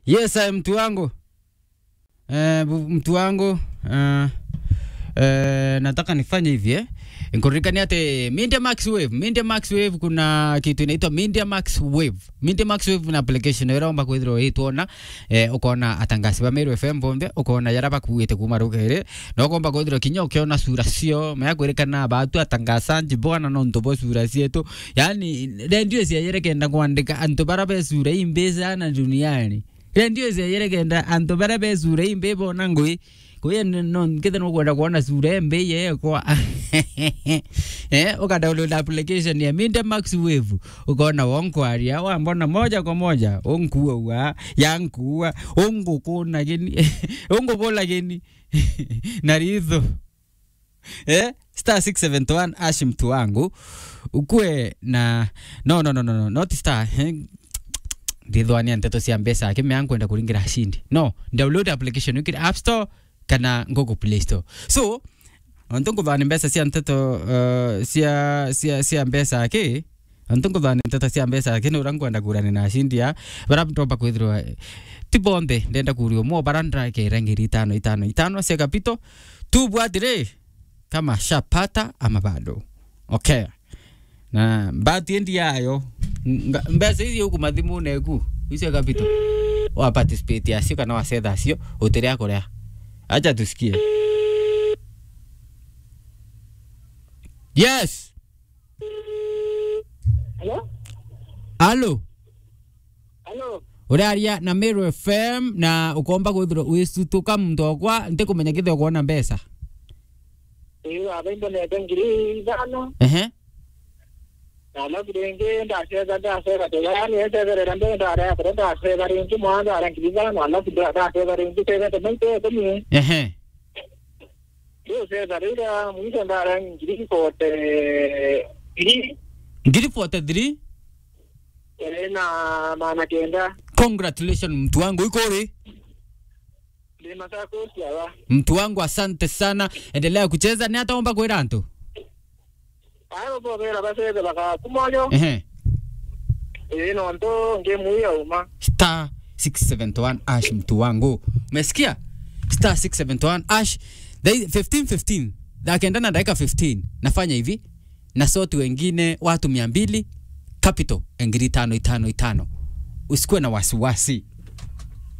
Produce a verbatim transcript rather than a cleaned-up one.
Yes, I am mtu wangu. Eh, bu- mtu wangu, eh, eh, nataka nifanye hivi, eh. Nikuririkania ati Media Max Wave, Media Max Wave, kuna kitu inaitwa Media Max Wave. Media Max Wave na application ira omba kwithirwa itwona, eh, ukona atangasi ba Meru F M bonthe, ukona yara bakuite kuma rugere, na ukomba kwithirwa kinya ukiona sura cio, maya kwirikana batu atangasanji bwana nontu bo sura cietu. Yani, redio ciayere kenda kwandika antu bara be sura imbi sana duniani. Redio ciayere kenda antu bara be sura imbi bona ngui. Kuya n- no, nkithe nukwenda kuona sura imbi yekwa. Eh, uka download application ya Media Max Wave. Ukona wonkwaria, wambona moja kwa moja, unkuua, yankuua, ungukuna gini, ungukula gini. Na ritho. Eh? Star six seven one hash mtu wangu. Ukue na, no, no, no, no, no, not star, eh? Ndithwania nteto cia mbeca aki, mea nkwenda kuringira ashindi. No, download application ukire App Store kana Google Play Store. So, ontu nkuthania mbeca cia nteto, uh, cia, cia, cia mbeca aki, ontu nkuthania nteto cia mbeca aki, ni uria nkwenda kurania na ashindi a, bara ndomba kwithirwa, eh, ti bonthe, ndenda kuria umwe, bara ndakera ngiri itano, itano, itano cia kapito, tu bwatire, kama shapata ama bado. Okay. Na mbati endi yayo. Nga- mbeca ici uku mathimune eku. Icio kapito. Wa participate acio kana wa setha acio, utire akuria. Acha tusikie. Yes. Hello? Alo. Hello? Uraria na Meru F M na ukomba kwithirwa wisutuka muntu okwa, ntikumenya kithio kwona mbeca. Ii, baba imbonete ngiri ithano. Ehe. Na alafu ringi ndacetha, ndacetha, tega, yani, ecetherera mbere, ndarea kure, ndacetha ringi, mwana ndarea ngiri ithano, alafu nda-, ndacetha ringi, cethete maita ikumi. Ehe. Riu cetha riria mwisho ndarea ngiri forty three. Ngiri forty three? Ii, na maana kenda. Congratulations, mtu wangu, iko ri? Ndi Machakos, yawa. Mtu wangu, asante sana. Endelea kucheza. Ni ataomba kwira antu? Abo bobera bacethe bakakumoyo. Ehe. Ii, nontu ngemu ii yauma. Star six seven one hash, mtu wangu. Umesikia? Star six seven one hash. Dai-, fifteen fifteen. Thaa kenda na dakika fifteen. Nafanya hivi. Na sort wengine watu mia mbili. Capital, ngiri itano, itano, itano. Usikuwe na wasiwasi.